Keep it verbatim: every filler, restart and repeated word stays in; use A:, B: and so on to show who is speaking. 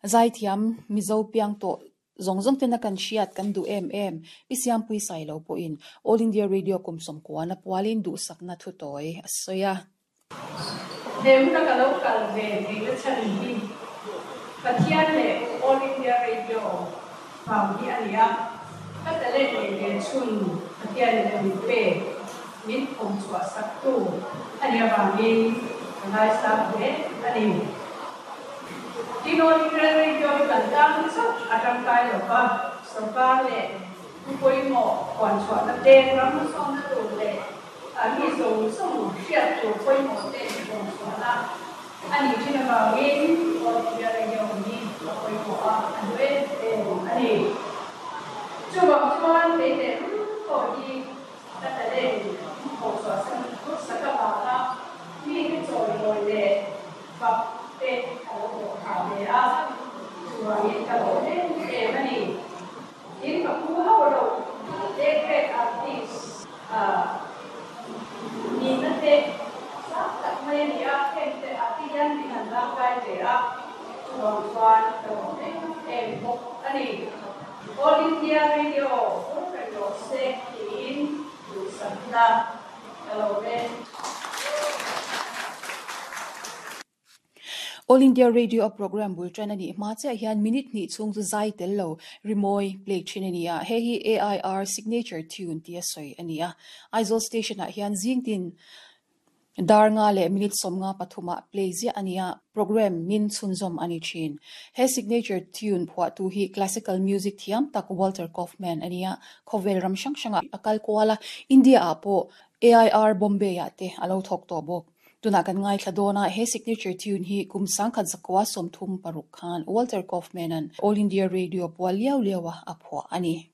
A: Zaithiam Mizo piang tawh zawng zawng tena kan hriat kan duh em em Pi Siampui Sailo pawhin All India Radio kum sawmkuana pualin duhsakna thu tawi a sawi a.
B: He hmuna ka lo kal ve theihna chhan hi Pathian leh All India Radio vang hi a ni a, ka talent nei ve chhun Pathianin min pek, min phawm chhuah saktu a nih avangin ka ngaisang hle a ni. Tin, All India Radio hi kan tan chauh a tangkai lo va, sorkar leh thu pawimawh puan chhuahna te, ram hmasawnna tur leh mi zawng zawng hriat tur pawimawh te puan chhuahna a nih thin avangin All India Radio hi a pawimawh a, a hlu em em a ni. Chuvang chuan kei leh lul pawh hi ka talent pawh chhuahsan sak avanga mite chawimawi leh fak te a lo hlawh phah ve a, chuvangin ka lawm em em a ni. Tin, ka pu hauh loh A-grade artist nihna te sang tak mai a ni a, heng te ah te hian min han dangkai ve a, chuvang chuan ka lawm em em bawk a ni. All India Radio vur reng rawh se tiin duhsakna ka lawm e.
A: All India Radio a program bul tan a nih hma chiah hian minute hnih chhung chu zai tel lo rimawi play thin a ni a, hei hi A I R signature tune tia sawi a ni a. Aizawl station ah hian zing tin dar nga leh minute sawmnga pathumah play ziah a ni a, program min chhunzawm a ni thin. He signature tune phuahtu hi classical music thiam tak Walter Kaufmann a ni a, khawvel ram hrang hrangah a kal kual a, India ah pawh A I R Bombay ah te a lo thawk tawh bawk. Tunah kan ngaithla dawn a, he signature tune hi kum sangkhat zakua sawmthum paruk khan Walter Kaufmann-a'n All India Radio pual liau liau a a phuah a ni.